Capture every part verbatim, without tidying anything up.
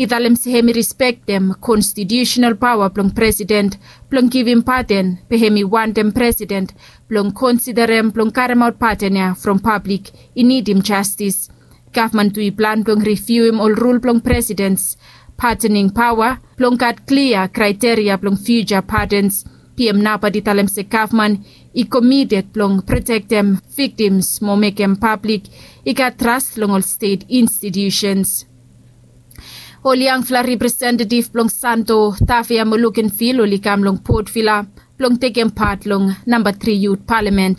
I talem se hem i rispektem konstitiusenal paoa blong presiden blong givim paden, be hem i wantem presiden blong konsiderem blong karemaot paden ya from pablik i nidim jastis. Gavman tu i plan blong riviuim ol rul blong presidens padening paoa blong gat klia kraiteria blong fiuja padens. Pm Napat i talem se gavman i komited blong protektem viktims mo mekem pablik i gat tras long ol stet institusens. Ol yangfala representativ blong Santo, Tafea mo Lukenvil oli kam long Port Vila blong tekem pat long namba tri yut palamen.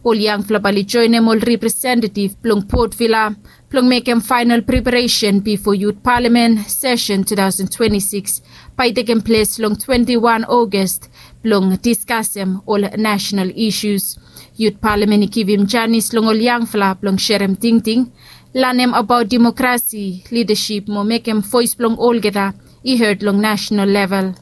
Ol yangfala bae oli joenem ol representativ blong Port Vila blong mekem faenal preparesen bifo yut palamen sesen tu taosen twenti sikis bae i tekem ples long twenti wan Ogas blong diskasem ol nasenal isus. Yut palamen i givim janis long ol yangfala blong serem tingting, lanem abaot demokrasi, lidasip mo mekem voes blong olgeta i hed long nasenal level.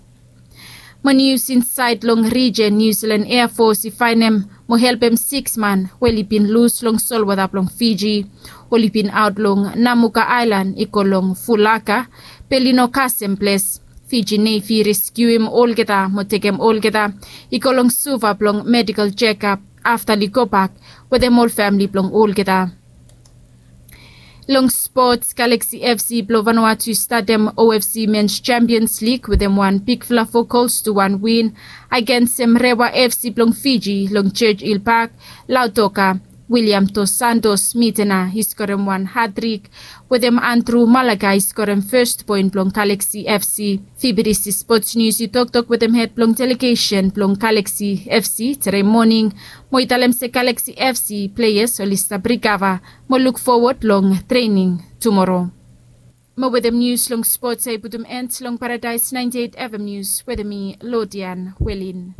Mo nius insaed long rijen, Niu Silan Ea Fos i faenem mo helpem siks man we oli bin lus long solwota blong Fiji. Oli bin aot long Namuka aelan i go long Fulaka, be oli no kasem ples. Fiji Nevi i reskiuim olgeta mo tekem olgeta i go long Suva blong medikol jekap afta oli gobak wetem ol famle blong olgeta. Long spots, Galaxy FC blong Vanuatu i statem OFC Mens Champions League wetem wan bigfala fo gols tu wan win agensem Rewa FC blong Fiji long Churchill Park, Lautoka. William Dos Santos Mitena i skorem wan hatrik wetem Andrew Malaga i skorem fes poen blong Galaxy FC. Fibidisi spots nius i toktok wetem hed blong delegesen blong Galaxy FC tede moning, mo i talem se Galaxy FC pleas oli stap rikava mo luk fowod long trening tumoro. Mo wetem nius long spots ya i putum end long Paradaes naenti eit FM nius wetem mi, Lodian Welin.